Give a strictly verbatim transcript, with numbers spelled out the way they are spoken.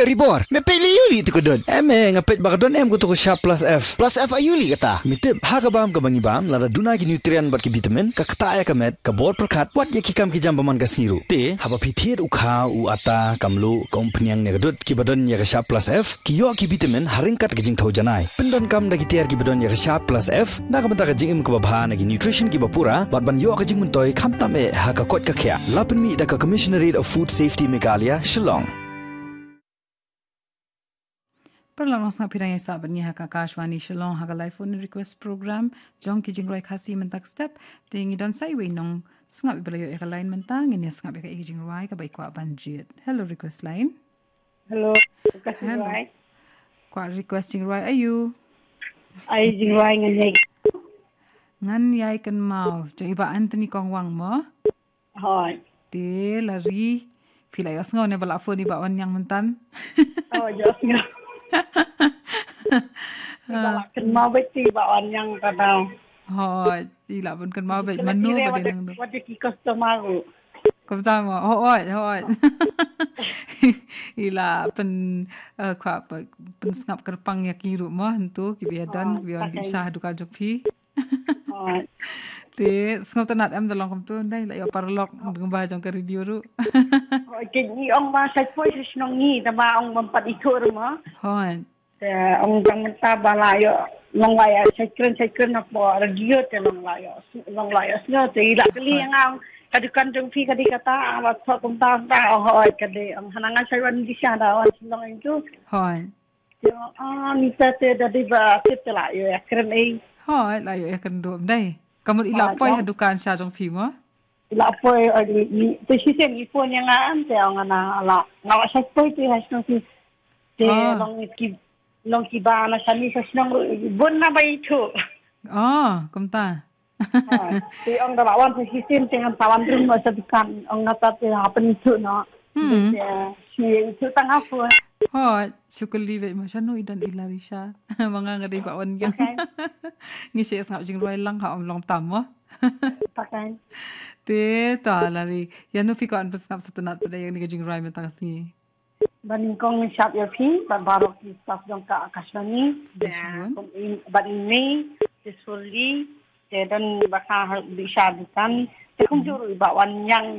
Ribor, me peit lei aïu lei tu ka dud? Em, eh, nga peit ba ka don em kato ka Sharp Plus F. Plus F aïu lei kata? Me tip, ha ka bam kaba ngi bam, lada duna ki nutrient bad ki vitamin, ka ktah ïa ka met, ka bor pyrkhat, wat ïa ki kam ki jam ba man ka sngi ruh. Te, haba phi thied u kha, u ata, ka mluh, ka umphniang ne ka dud, kiba don ïa ka Sharp Plus F, ki ïoh ki vitamin, ha ryngkat ka jingthew janai. Pyndonkam da ki tiar kiba don ïa ka Sharp Plus F, na ka bynta ka jingim kaba bha na ki nutrition kiba pura, bad ban ïoh ka jingmyntoi, khamtam eh, ha ka koit ka khiah. La pynmih da ka Commissionerate of Food Safety Meghalaya, Shillong. Paralok nongsngap, phi dang ïa sah bad ngi ha ka Akashvani Shillong ha ka live phone request program jong ki jingrwai Khasi mynta ka step. Te ngi don sa iwei i nongsngap iba la ïoh ïa ka line mynta, ngin ïa sngap ïa ka, ïa ka jingrwai kaba i kwah ban jied. Hello, request line. Hello, request Hello. jingrwai. Kwah request jingrwai aïu? Ai jingrwai Ngan ïai. Ngan ïai kynmaw. Jong i Bah Anthony Kongwang mo? Hooid. Te la ri. Phi la ïohsngew ne ba la phone i Bah Wanniang mynta? Oh, ïohsngew. Phi la kynmaw beit i Bah Wanniang ka daw. Hooid, i la bun kynmaw beit mano ba dei nang. Wat ki customer ruh. Kumta mo, hooid, hooid. I la pyn, eh, kwah pyn, pynsngap kyrpang ïa ki ruh mo, hyntu kiba ïadon, kiba ïadon sha ha dukan jong phi. Te sngewtynnat em da long kumto, ndai la ïoh paralok lyngba jong ka radio ruh. Ki ong ba shait poi sha shnong ngi, tangba ong bym pat ithuh ruh mo. Hooid. Te ong dang mynta ba la ïoh, long la ïoh shait kren shait kren na po radio, te long la ïoh, long la ïohsngew, te i la kylli ïa nga, ka dukan jong phi ka dei kata, la thoh kumta kumta, ong hooid ka dei, ong hana nga shait wan dei sha da wan shnong ïa tu. Hooid. Te ong, ah, mynta te da dei ba tip te la ïoh ïa kren ei. Hooid, la ïoh ïa kren duh ym dei. Ka mut i la poi ha dukan sha jong phi mo? I la poi, eh, i, i, te shisien i phone ïa nga em, te ong nga la, nga la shait poi te ha shnong phi. Te long ki, long kiba na shane sha shnong ruh bun na ba ithuh. Oh, kumta. Ha, te ong da la wan sa shisien te ngan sa wan rung noh sha dukan, ong nga ta te ha pynithuh noh. Hmm. Te, eh, shi ithuh tang ha phone. Hooid, shu kylli beit mo shano i don i Larisha. Ma nga nga dei Bah Wanniang. Ngi shu sngap jingrwai lang ha, ym long tam mo. Te to la ri. Ïano phi kwah ban pynsngap sngewtynnat pat ïa kane ka jingrwai mynta ka sngi? Ba nyngkong ngin shap ïa phi, bad baroh ki staff jong ka Akashvani. Bad i mei, te Surli, te don ba ka ha, bi sha dukan. Te kumjuh ruh i Bah Wanniang,